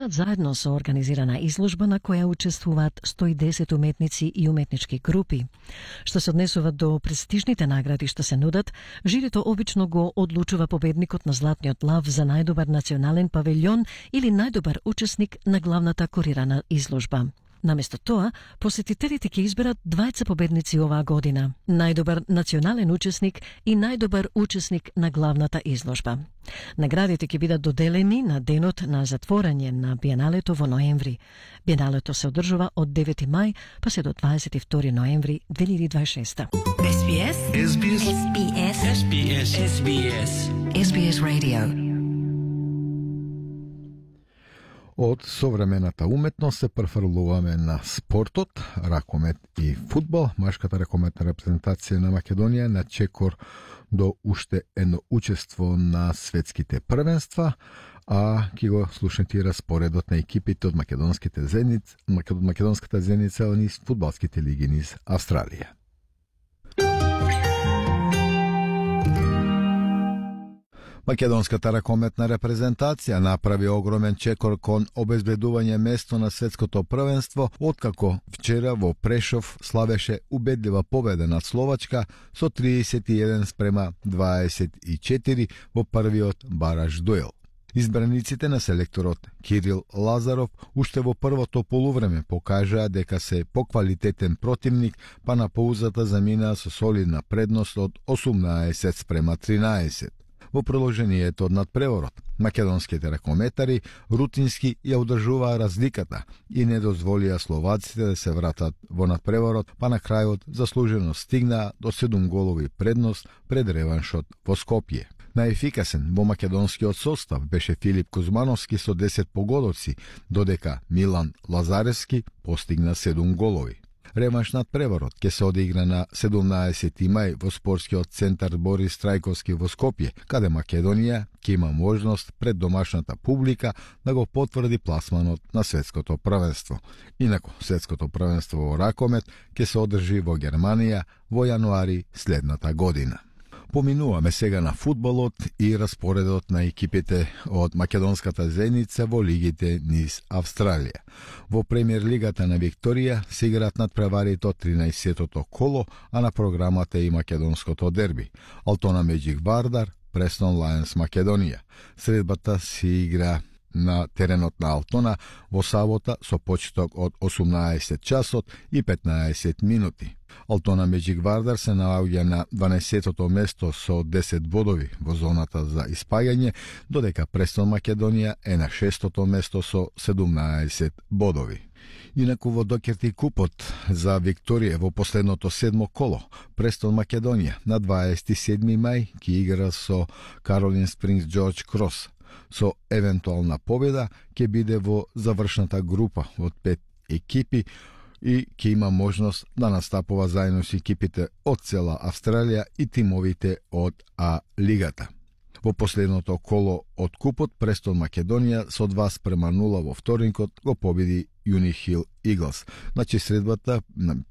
заедно со организирана изложба на која учествуваат 110 уметници и уметнички групи. Што се однесува до престижните награди што се нудат, жирито обично го одлучува победникот на Златниот лав за најдобар национален павилјон или најдобар учесник на главната курирана изложба. Наместо тоа, посетителите ќе изберат двајца победници оваа година, најдобар национален учесник и најдобар учесник на главната изложба. Наградите ќе бидат доделени на денот на затворање на Биеналето во ноември. Биеналето се одржува од 9 мај па се до 22 ноември 2026. SBS SBS SBS SBS SBS SBS Radio. Од современата уметност се префрлуваме на спортот, ракомет и фудбал. Машката ракометна репрезентација на Македонија на чекор до уште едно учество на светските првенства, а ќе го слушнете и распоредот на екипите од македонската зеница низ фудбалските лиги низ Австралија. Македонската ракометна репрезентација направи огромен чекор кон обезбедување место на светското првенство, откако вчера во Прешов славеше убедлива победа над Словачка со 31-24 во првиот бараж дуел. Избраниците на селекторот Кирил Лазаров уште во првото полувреме покажаа дека се поквалитетен противник, па на паузата заминаа со солидна предност од 18-13. Во продолжението од надпреворот, македонските ракометари рутински ја одржуваа разликата и не дозволија словаците да се вратат во надпреворот, па на крајот заслужено стигнаа до 7 голови предност пред реваншот во Скопје. Најефикасен во македонскиот состав беше Филип Кузмановски со 10 погодоци, додека Милан Лазаревски постигна 7 голови. Реванш над преворот ќе се одигра на 17 мај во спортскиот центар Борис Трајковски во Скопје, каде Македонија ќе има можност пред домашната публика да го потврди пласманот на светското првенство. Инаку, светското првенство во ракомет ќе се одржи во Германија во јануари следната година. Поминуваме сега на фудбалот и распоредот на екипите од македонската зеница во лигите низ Австралија. Во премиер лигата на Викторија се играат надпреварите од 13-тото коло, а на програмата е и македонското дерби. Алтона Меджик Вардар, Престон Лајонс Македонија. Средбата се игра на теренот на Алтона во сабота со почеток од 18 часот и 15 минути. Алтона Меджик Вардар се наоѓа на 12-тото место со 10 бодови во зоната за испаѓање, додека Престон Македонија е на 6-тото место со 17 бодови. Инаку во Докерти купот за Викторија во последното 7 коло, Престон Македонија на 27 мај ќе игра со Каролин Спрингс Джордж Крос. Со евентуална победа ќе биде во завршната група од 5 екипи и ќе има можност да настапува заедно со екипите од цела Австралија и тимовите од А лигата. Во последното коло од купот Престон Македонија со 2:0 во вторникот го победи Юни Хил Иглс. Значи средбата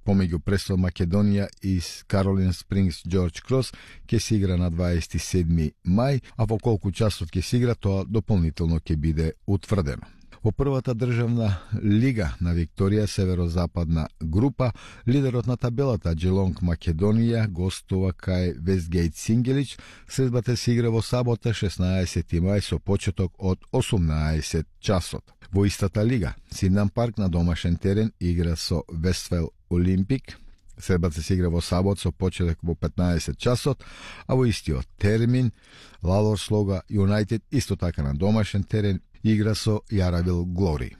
помеѓу Престон Македонија и Каролин Спрингс Джордж Крос ќе се игра на 27 мај, а во колку часот ќе се игра тоа дополнително ќе биде утврдено. Во првата државна лига на Викторија, северозападна група, лидерот на табелата Джелонг Македонија гостува кај Вестгейт Сингелич. Средбата се игра во сабота 16 мај со почеток од 18 часот. Во истата лига, Сиднам Парк на домашен терен игра со Вестфел Олимпик. Средбата се игра во сабот со почеток во 15 часот, а во истиот термин Лалор Слога Юнайтед исто така на домашен терен игра со Јаравил Глори.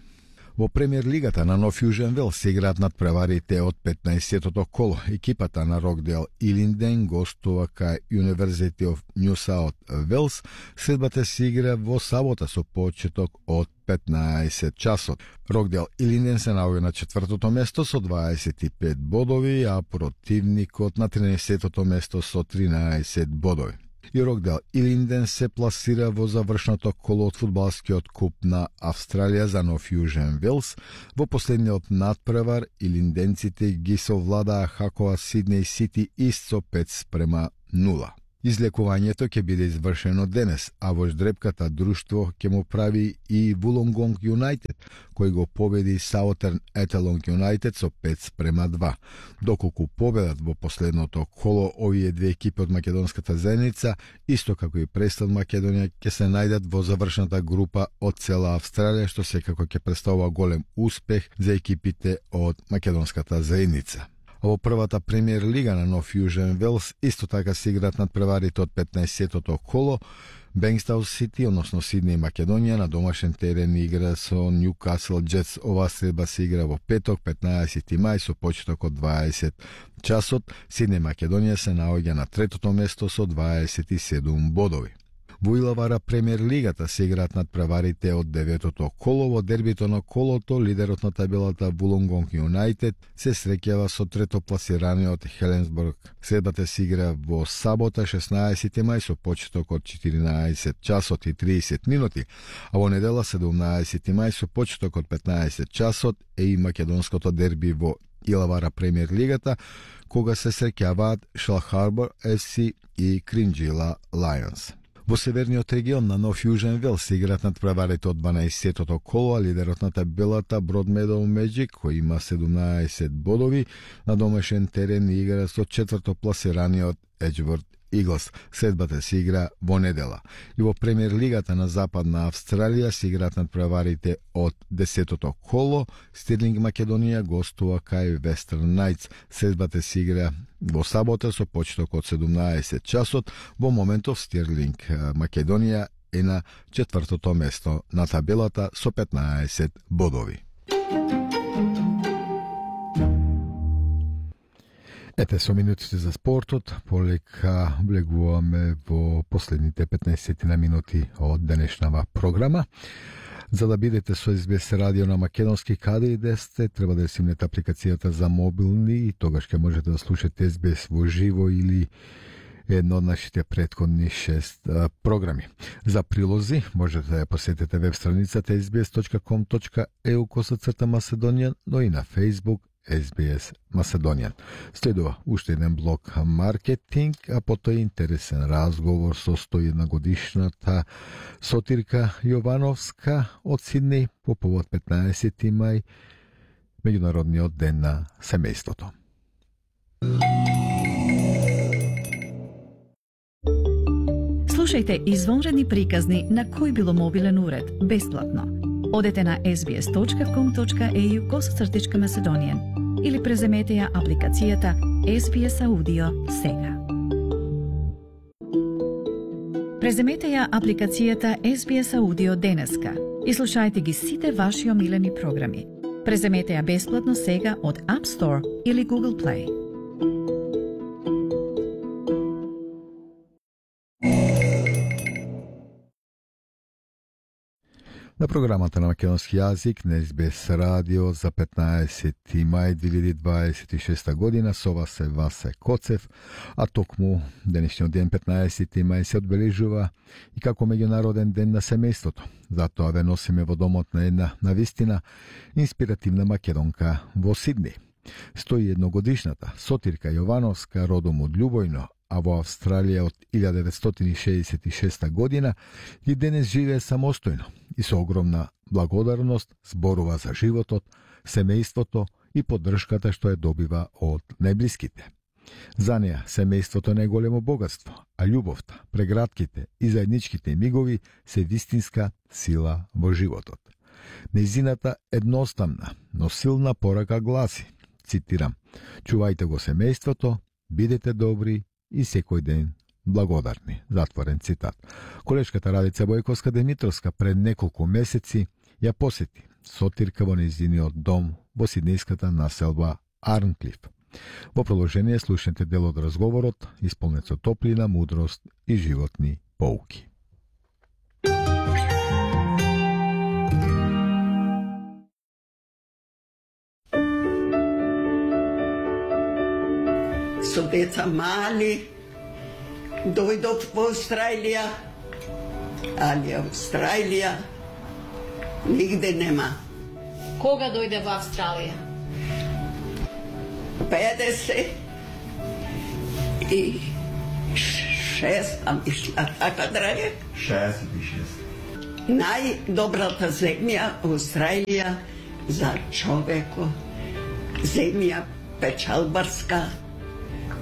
Во премиер лигата на Нов Јужен Велс се играат надпреварите од 15-тото коло. Екипата на Рокдейл Илинден гостува кај University of New South Wales. Средбата се игра во сабота со почеток од 15 часот. Рокдейл Илинден се наоѓа на 4-тото место со 25 бодови, а противникот на 13-тото место со 13 бодови. И Рокдейл Илинден се пласира во завршното коло од фудбалскиот куп на Австралија за Нов Јужен Велс. Во последниот надпревар илинденците ги совладаа Хакова Сиднеј Сити ист со 5:0. Излекувањето ќе биде извршено денес, а во ждрепката друштво ќе му прави и Wollongong United, кој го победи Southern Ettalong United со 5:2. Доколку победат во последното коло, овие две екипи од македонската заедница, исто како и Престон Македонија, ќе се најдат во завршната група од цела Австралија, што секако ќе представува голем успех за екипите од македонската заедница. Во првата премиер лига на Нов Јужен Велс исто така се играат надпреварите од 15-тото коло. Бенкстаун Сити, односно Сидни и Македонија, на домашен терен игра со Ньюкасл Джетс. Оваа средба се игра во петок, 15 мај, со почеток од 20 часот. Сидни Македонија се наоѓа на третото место со 27 бодови. Во Илавара премиер лигата се играат надпреварите од 9-тото коло. Во дербито на колото, лидерот на табелата Wollongong United се среќава со третопласираниот Хеленсбург. Средбата се игра во сабота, 16 мај, со почеток од 14 часот и 30 минути, а во недела 17 мај со почеток од 15 часот е и македонското дерби во Илавара премиер лигата, кога се среќаваат Шел Харбор FC и Кринџила Лајонс. Во северниот регион на Нов Јужен Велс се играат надпреварите од 12-тото коло, а лидерот на табелата Broadmeadow Magic, кој има 17 бодови, на домашен терен игра со четврто пласираниот Edgeworth Eagles. Средбата се игра во недела. И во премиер лигата на Западна Австралија се играат надпреварите од 10-тото коло. Стирлинг Македонија гостува кај Western Knights. Средбата се игра во сабота со почеток од 17 часот. Во моментов Стирлинг Македонија е на четвртото место на табелата со 15 бодови. Ете, со минутите за спортот, полека влегуваме во последните 15 на минути од денешнава програма. За да бидете со SBS радио на македонски каде и да сте, треба да симнете апликацијата за мобилни и тогаш ќе можете да слушате SBS во живо или едно од нашите претходни 6 програми. За прилози можете да ја посетите веб страницата sbs.com.eu/Macedonian, но и на Facebook SBS Macedonian. Следува уште еден блок маркетинг, а потоа интересен разговор со 101 годишната Сотирка Јовановска од Сиднеј по повод 15 мај, меѓународниот ден на семејството. Слушајте извонредни приказни на кој било мобилен уред, бесплатно. Одете на sbs.com.au/Macedonian или преземете ја апликацијата SBS Audio сега. Преземете ја апликацијата SBS Audio денеска и слушајте ги сите ваши омилени програми. Преземете ја бесплатно сега од App Store или Google Play. На програмата на македонски јазик на SBS радио за 15 мај 2026 година со вас е Васе Коцев, а токму денешниот ден 15 мај се одбележува и како меѓународен ден на семејството. Затоа ве носиме во домот на една навистина инспиративна македонка во Сидни. 101 годишната Сотирка Јовановска, родом од Љубојно, а во Австралија од 1966 година и денес живее самостојно и со огромна благодарност зборува за животот, семејството и поддршката што ја добива од најблиските. За неа семејството не е големо богатство, а љубовта, прегратките и заедничките мигови се вистинска сила во животот. Нејзината едноставна, но силна порака гласи, цитирам: "Чувајте го семејството, бидете добри и секој ден благодарни." Затворен цитат. Колешката Радица Бојковска Демитровска пред неколку месеци ја посети Сотирка во нејзиниот дом во сиднејската населба Арнклиф. Во продолжение слушнете дел од разговорот, исполнет со топлина, мудрост и животни поуки. Со деца мали, дојдов во Австралија, али Австралија нигде нема. Кога дојде во Австралија? 56 6, а мисля, така, драге? 66. Најдобрата земја, Австралија, за човеко. Земја печалбарска,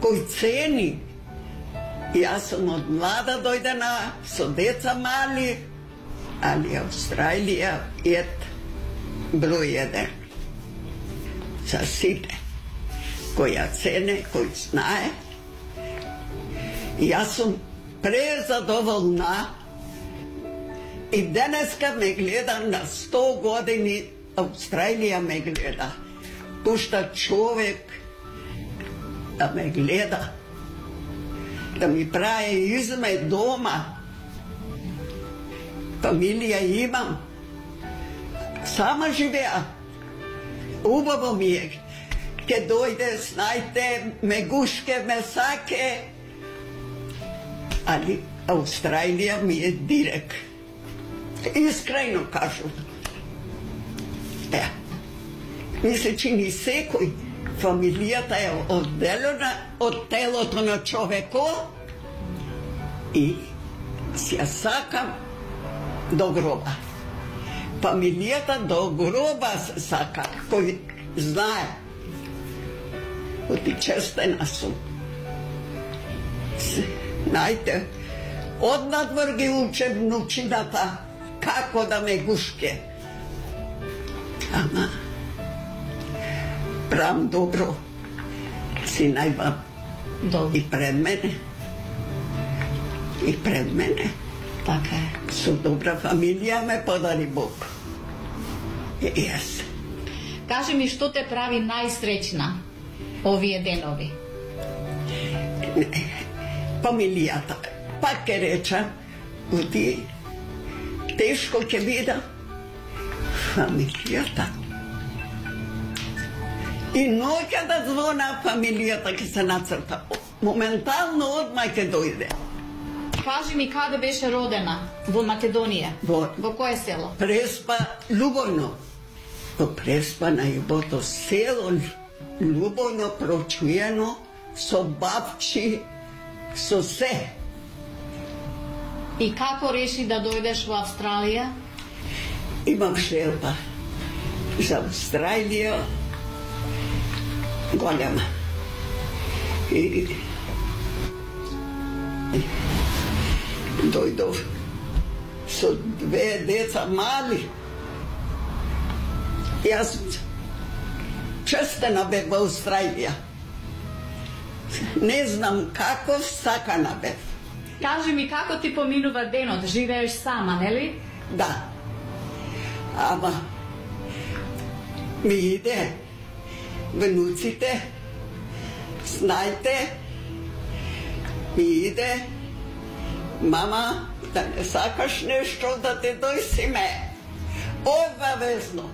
кој цени. Јас сум од млада дојдена, со деца мали, али Австралија е број 1. За сите, кој ја цене, кој знае. Јас сум презадоволна и денеска ме гледа на 100 години, Австралија ме гледа. Пушта човек да ме гледа, да ми прави изме дома. Фамилија имам. Сама живеа. Убаво ми е. Ке дојде, знајте, ме гушке, ме саке. Али Австралија ми е дирек. Искрено кажу. Мисле, че ни секој фамилијата е одделена од телото на човеко и си ја сакам до гроба. Фамилијата до гроба се сака, кој знае. Оти честена сум. Знајте, однадвор ги уче внучината како да ме гушке. Ама, правам добро. Си најба и пред мене. И пред мене. Така е. Со добра фамилија ме подари Бог. Јас. Кажи ми, што те прави најсреќна овие денови? Фамилијата. Пак ке реча, оти тешко ќе биде фамилијата. И ноќа да звона фамилијата ќе се нацрта. Моментално одма ќе дојде. Кажи ми, каде беше родена? Во Македонија? Во кое село? Преспа, Лубојно. Во Преспа, најубото село, Лубојно, прочуено, со бабчи, со се. И како реши да дојдеш во Австралија? Имам желба за Австралија голема. И дојдов со 2 деца мали. Јас честена бев во Австралија. Не знам како сакана бев. Кажи ми, како ти поминува денот? Живееш сама, нели? Да. Ама ми иде внуците, знајте, ми иде мама, да не сакаш нешто да те дојсиме. Обавезно.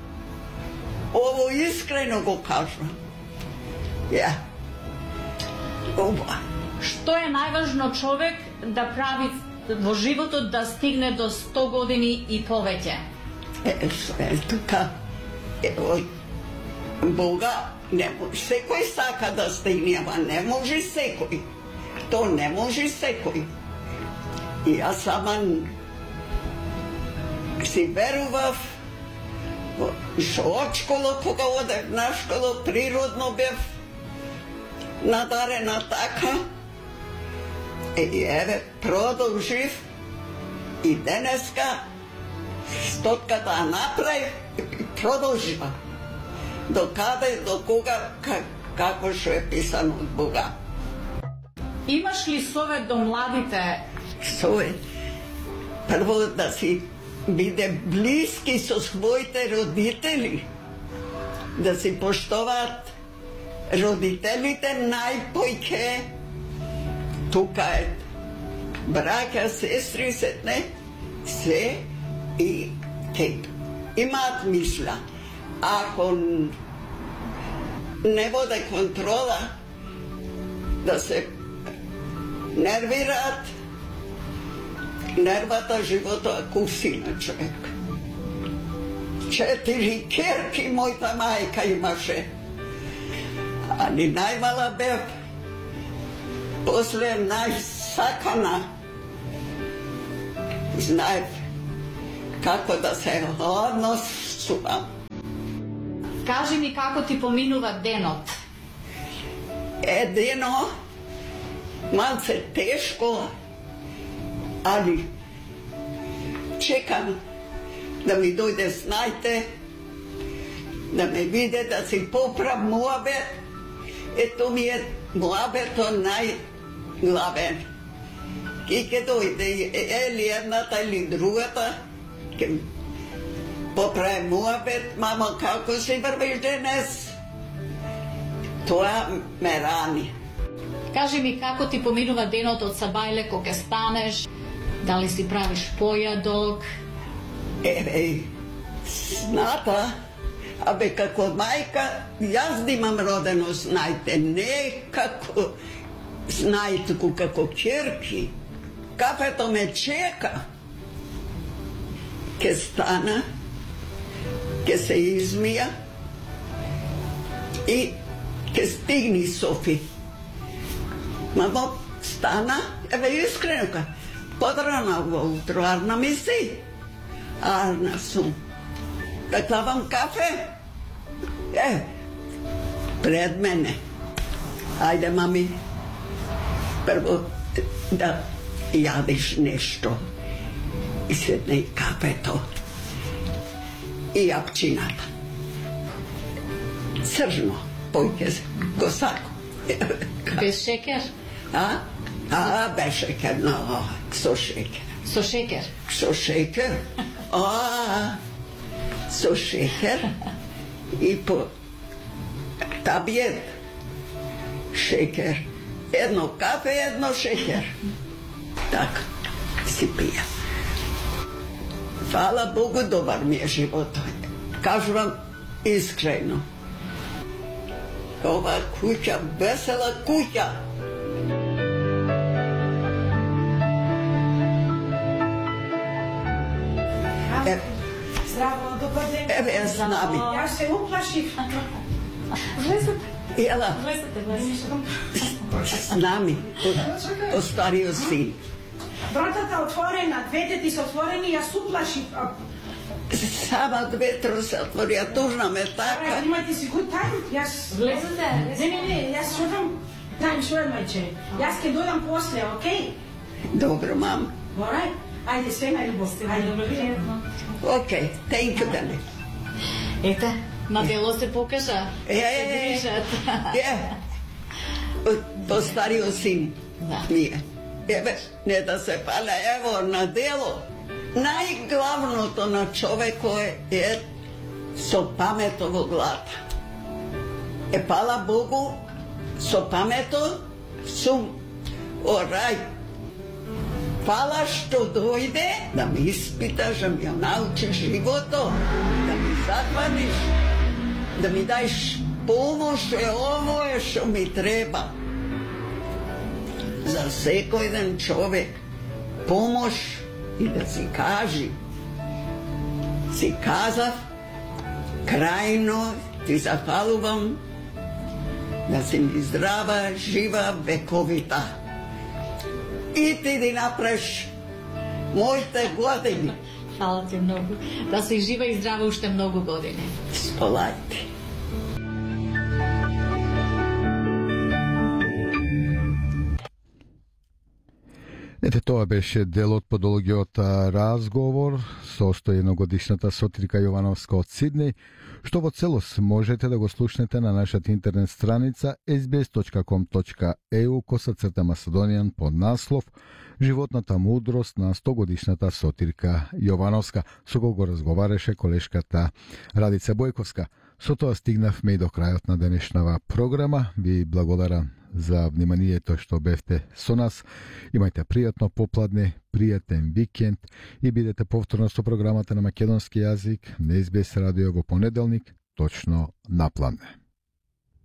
Ово искрено го кажам. Ја. Ова. Што е најважно човек да прави во животот да стигне до 100 години и повеќе? Тука, Бога, не може, секој сака да стигне, ама не може секој. То не може секој. И јас сама си верував, што од школа, кога одев на школа, природно бев надарена така. И еве, продолжив и денеска стотката направив и продолжива. До каде, до кога, како што е писано од Бога. Имаш ли совет до младите? Совет? Прво да си биде блиски со своите родители, да си поштоваат родителите најпојќе. Тука е браќа, сестри, се и те имаат мисла. Ако не воде контрола, да се нервираат, нервата живота куси на човек. 4 керки мојта мајка имаше, али најмала бев. После сакана. Знаев како да се однесувам. Кажи ми како ти поминува денот. Едино, малце тешко, али чекам да ми дојде снајте, да ме виде, да си поправ муабет. Ето ми е муабето најглавен. Ки ке дојде или едната или другата, ке поправи муабет, мамо, како си врвиш денес? Тоа ме рани. Кажи ми како ти поминува денот од сабајле кога ќе станеш, дали си правиш појадок? Еве, сната, абе како мајка, јас да имам родено знајте, не како знајтку, како ќерки. Кафето ме чека. Ке стана, ке се измија и ке стигни Софи. Мамо, стана, еве искрено, подрана во утро, арна ми си. Арна сум. Да клавам кафе? Пред мене. Ајде, мами, прво да јадиш нешто. И седне и кафето. И јапчината. Цржно, појке го сако. Без шекер? Без шекер, но со шекер. Со шекер? Со шекер? Со шекер и по табиет шекер. Едно кафе, едно шекер. Така си пија. Фала Богу, добар ми е животот. Кажувам искрено. Ова куќа, весела куќа. Здраво, добар ден. Еве ја знам. Јас се уплашив. Влезете. Ела, знам, остарио син. Вратата отворена, двете ти се отворени, јас уплашив. Сама двете се отвори, ја тужна ме така. Имате си good time, јас... Влезете. Не, јас шутам time sure, мајче. Јас ке дојдам после, окей? Добро, мам. Alright? Ајде, све најубаво. Ајде, Окей, thank you, Дани. Ете, на дело се покажа. Постарио син Да. ми е. Еве, не да се паля, ево, на дело. Најглавното на човеко е со памето во глата. Пала Богу, со памето сум орай. Фала што дојде да ми испиташ, да ми ја научиш живото, да ми захваниш, да ми даеш помош, ово е што ми треба. За секој ден човек помош и да си кажи. Си казав, крајно ти зафалувам, да си ми здрава, жива, вековита. И ти да направиш моите години. Фала ти многу. Да си жива и здрава уште многу години. Сполајте. Ете, тоа беше дел од подолгиот разговор со 101-годишната Сотирка Јовановска од Сиднеј, што во целост можете да го слушнете на нашата интернет страница sbs.com.eu/Macedonian под наслов Животната мудрост на 100-годишната Сотирка Јовановска, со кого разговараше колешката Радица Бојковска. Со тоа стигнавме и до крајот на денешнава програма. Ви благодарам за вниманието што бевте со нас. Имајте пријатно попладне, пријатен викенд и бидете повторно со програмата на македонски јазик на SBS радио во понеделник, точно на пладне.